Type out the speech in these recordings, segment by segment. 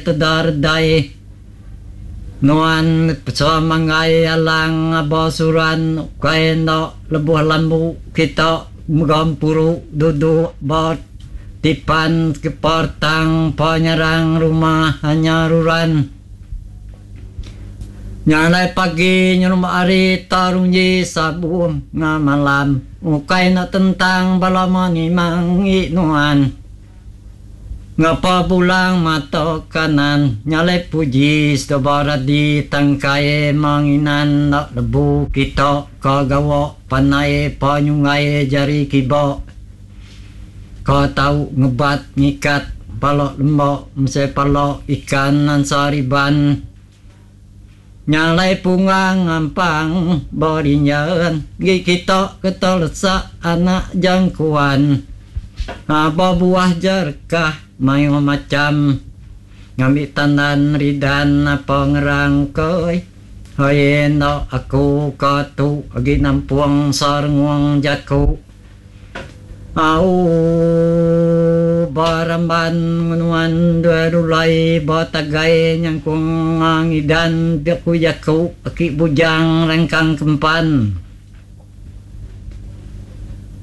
Teda redai nuan semanggai alang aba suran ukai enda lebuh lambu kita begempuru duduk ba tipan pertang penyerang rumah anya ruran. Nya alai pagi nyerumba hari tarunji sabung ngamalam ukai enda tentang bala menimang ngi nuan. Ngapa bulang mata kanan nyalai puji seduba radi tangkai menginan enda lebu kita ka gawa pandai pa nyunggai jari kiba ka tau ngebat ngikat pala lemba mesai pala ikan ansa riban nyalai punggang ngampang berinjan gi kita ke telesak anak jangkuan. Aba buah jerekah mayuh macham ngambi tandan ridan apa ngerang koi hoi enda aku ka tu agi nampung sarengung jaku au ba ramban nuan dua rulai ba tagai nyangkung ngidan pia ku jaku aki bujang rengkang kempan.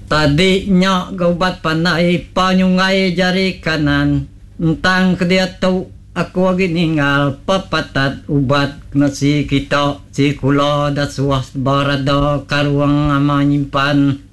Tadi nya ga ubat pandai pa nyunggai jari kanan entang ke diatu aku agi ninggal pepatat ubat kena si kita si kula da suah berada karung ama nyimpan.